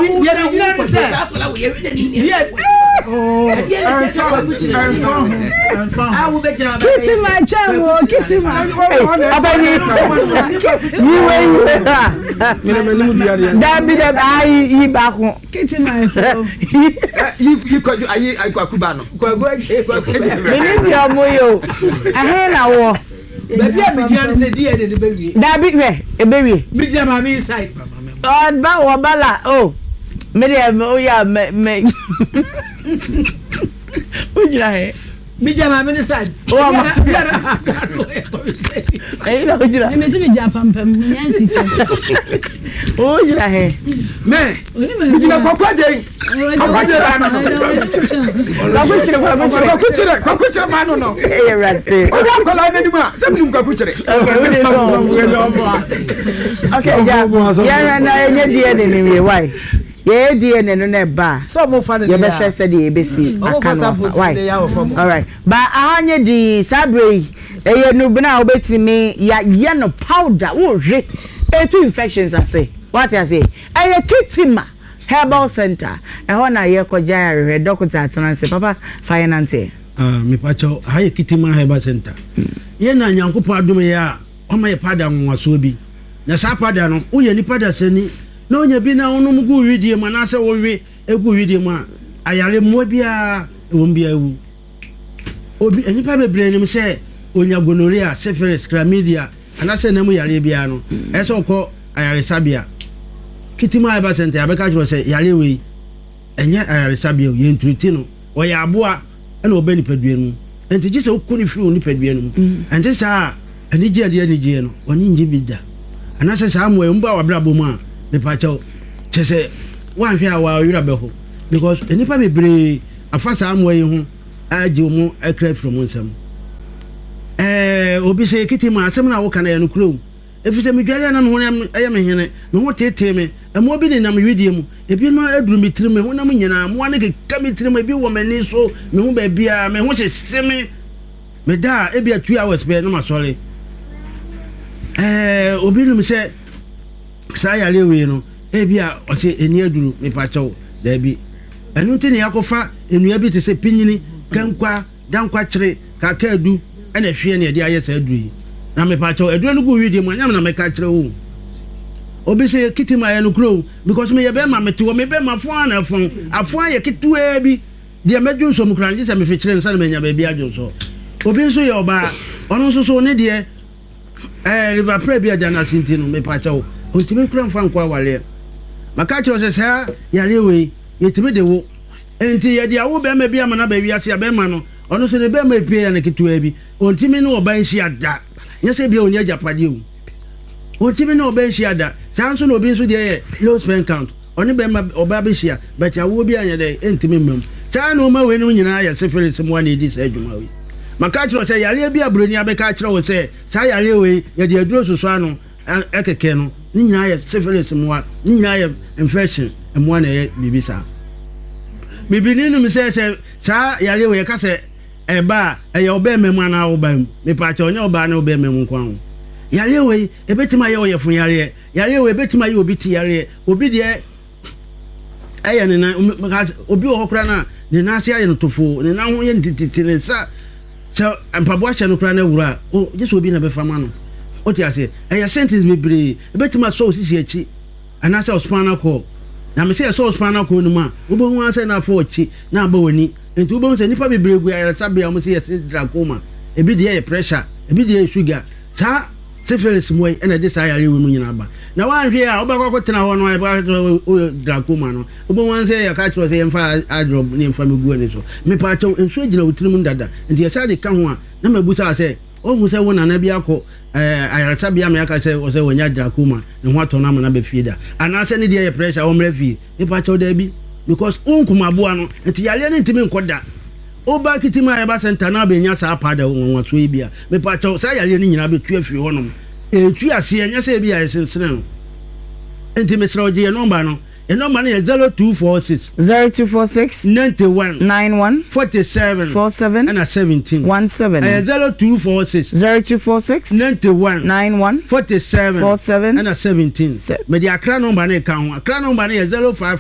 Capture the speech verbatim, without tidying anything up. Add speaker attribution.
Speaker 1: Deɛ megyina ne sɛ deɛ
Speaker 2: Kitima kyɛn wo kitima. Ɔbɛni yiwe yiwe dabi dabi ayi yi baako.
Speaker 3: Kitima efo.
Speaker 4: Yi yi kwadu ayi kwaku ba no. Kwaku kwaku.
Speaker 2: Mini di ɔmo yi o. Ɛhɛn na wɔ.
Speaker 1: Baabi a megyina ne sɛ D N A no bɛwie.
Speaker 2: Dabi, hwɛ, ebewie.
Speaker 1: Megyina maame yi side.
Speaker 2: Ɔba wɔba la o. Mi deɛ o yà mɛ mɛ. O gyina hɛ.
Speaker 1: Megyina maame ne side.
Speaker 2: Wɔ ma. Ɛyi na o gyina.
Speaker 3: Mímí si mi gyina pampam, mi nya nsi fam.
Speaker 2: O gyina hɛ.
Speaker 4: Mɛ megyina Kwaku Agye, Kwaku Agye ba no no.
Speaker 2: Kwaku kyerɛ, Kwaku kyerɛ.
Speaker 4: Kwaku kyerɛ, Kwaku kyerɛ ba no no.
Speaker 2: Ɛyɛ rate.
Speaker 4: Ɔyɛ akwadaa n'anim a sɛ minum Kwaku kyerɛ.
Speaker 2: Okay, wo de sɔn. Okay, ja, yɛn na yɛnyɛ D N A ni wie why? Yɛyɛ D N A no na ɛba a.
Speaker 1: Sɛ ɔmo fa ne
Speaker 2: Yɛbɛhwɛ sɛdeɛ yɛbɛsi aka no afa why. Alright, ba aha nye di saa bere yi, ɛyɛ nubena a wobɛtumi yɛayɛ no powder, wohwe etu infections ase, wate ase. Ɛyɛ Kitima Herbal Center, ɛhɔ na yɛkɔgya arehwɛ. Dɔkota atena ase, papa fa yɛ nante.
Speaker 5: Ah, mepakyɛw, ha yɛ Kitima Herbal Center. Yɛn na Nyankopɔn adom yɛ a ɔma yɛ powder nwonwasoɔ bi, na saa powder no, woyɛ nipa dasani na wonya bi na wonom gu widie mu anaasɛ wowe egu widie mu a, ayare mmoa biara ɛwɔ mu biara ewu. Obi, nipa bebree nim sɛ onya gonorrhea, syphilis, chlamydia anaasɛ nam yareɛ biara no, ɛsɛ sɛ ɔkɔ ayaresabea. Kitima Herbal Center, yɛabɛka kyerɛ sɛ yareɛ wei ɛnyɛ ayaresabea o, yɛnturiti no. Ɔyɛ aboa ɛna ɔbɛ nipadua no mu, nti gye sɛ wokɔ ne firi wo nipadua no mu. Ɛnte saa a, anigye a ɛde anigyeɛ no ɔne ngye bi da, anaasɛ saa mmoa yi ɔmba w'abrabɔ mu a, mepakyɛw, kyɛ sɛ woanhwɛ a wɔawerɛ bɛho, because nnipa bebree afa saa mmoa yi ho agye wɔn akra afiri wɔn nsam. ɛɛ obi sɛ ekiti mu asɛm na woka no yɛ no kuro, ɛfiri sɛ medware a na me ho ɛyɛ me hene, me ho tetee me, mmoa bi nenam widie mu, ebi no aduru me tirim, me honam nyinaa mmoa no keka me tirim, ebi wɔ m'ani so, me ho baabiara, me ho hyehye me. Meda a, ebi a two hours pɛ na masɔre. ɛɛ obi nim sɛ saa yare wei no, ebi a ɔsɛ eni aduru. Mepakyɛw, daabi. Ɛno nti ne yɛakɔfa nnua bi te sɛ pinyini, kankwa, dankwakyere, kakaadu ɛna ɛhweɛ ne yɛde ayɛ saa aduru yi. Na mepakyɛw, aduro no gu widie mu anyam na mɛka kyerɛ wo. Obi sɛ kiti ma yɛ no kuro because meyɛ bɛrima, mete hɔ, me bɛrima afɔn na afɔn afɔn ayɛ ketewaa bi deɛ, mɛdwo nso mu koraa ngye sɛ mefekyerɛ nsa na manya baabi adwo nso. Obi nso yɛ ɔbaa, ɔno nso so ne deɛ ɛɛ river prɛ bi a ɛda n'ase, nti no mepakyɛw, ntumi kura nfa nkɔ awareɛ. Maka kyerɛ sɛ saa yareɛ wei yɛtumi de wo, nti yɛde awo bɛrima bi ama no aba wiase a, bɛrima no ɔno nso ne bɛrima epie yɛ no ketewa bi, ɔntumi ne ɔba nhyia da. Nyɛ sɛ bia ɔnyɛ agyapadeɛ o, ɔntumi ne ɔba nhyia da. Saa nso na obi nso deɛ yɛ low sperm count, ɔne bɛrima ɔba bɛhyia, but awoɔ bi anyɛ dɛ ɛntumi mmam. Saa na ɔma wei no nyinaa yɛ syphilis mmoa na ɛdi saa adwuma wei. Maka kyerɛ sɛ yareɛ bi a buroni abɛka kyerɛ wo sɛ saa yareɛ wei yɛde aduro soso ano ɛkɛkɛ no, ne nyinaa yɛ syphilis mmoa, ne nyinaa yɛ infection mmoa na ɛyɛ biribi saa. Bibini nom sɛ sɛ saa yareɛ wei yɛka sɛ ɛba a, ɛyɛ ɔbɛrima mu anaa ɔbaa mu. Mepaakyɛ, ɔnyɛ ɔbaa ne ɔbɛrima mu nko ho. Yareɛ wei ebɛtumi ayɛ ɔyɛfo yareɛ. Yareɛ wei ebɛtumi ayɛ obi ti yareɛ, obi deɛ ɛyɛ ne nan. Obi wɔ hɔ koraa na ne nan ase ayɛ no tofo, ne nan ho yɛ ne tititi, ne nsa sɛ mpaboa hyɛ no koraa na awura a o gye sɛ obi na bɛfa ma no. O te aseɛ, ɛyɛ sentence bebree. Ebɛtumi asɔ osisi akyi anaasɛ ɔspinal cord, na mɛ sɛ yɛsɔ ɔspinal cord no mu a, wobɛhu asɛ na afɔ akyi na aba w'ani. Nti wobɛhu sɛ nipa bebree gu ayaresabea a wɔn sɛ yɛsɛ glaucoma, ebi deɛ yɛ pressure, ebi deɛ yɛ sugar. Saa syphilis mu yi ɛna ɛde saa yare wei mu nyinaa ba, na wanhwɛ a wobɛkɔ akɔtena hɔ no, ɛbɛka glaucoma no, wobɛhu sɛ yɛka kyerɛ sɛ yɛmfa eye drop ne yɛmfa mɛgu ani so. Mepaakyɛw, nsuo gyina wo tirim dada, nti yɛsa de ka ho a, na mabusa sɛ ɔhu sɛ wo nana bi akɔ ayaresabea ma yɛaka sɛ sɛ wɔnya glaucoma, ne ho atɔ no ama no aba fie da, anaasɛ ne deɛ yɛ pressure, wɔmmrɛ fie? Mepaakyɛw, daabi, because wonkum aboa no, nti yareɛ no ntumi nkɔ da. Woba Kitima Herbal Center na abɛnya saa powder nwanwasoɔ yi bi a, mepaakyɛw, saa yareɛ no nyinaa bɛtu afiri hɔnom. Ɛtu aseɛ, nyɛ sɛ ebi a yɛsensene no. Nti mesrɛ wo, gye yɛ nɔmba no. Yɛ nɔmba no yɛ zero two four six.
Speaker 2: Zero two four six.
Speaker 5: ninety-one.
Speaker 2: Nine one.
Speaker 5: forty-seven.
Speaker 2: Four seven.
Speaker 5: Ɛna seventeen.
Speaker 2: One seven.
Speaker 5: Ɛyɛ zero two four six.
Speaker 2: Zero two four six.
Speaker 5: ninety-one.
Speaker 2: Nine one.
Speaker 5: forty-seven.
Speaker 2: Four seven.
Speaker 5: Ɛna seventeen. Mede Akra nɔmba no ka ho. Akra nɔmba no yɛ zero five five.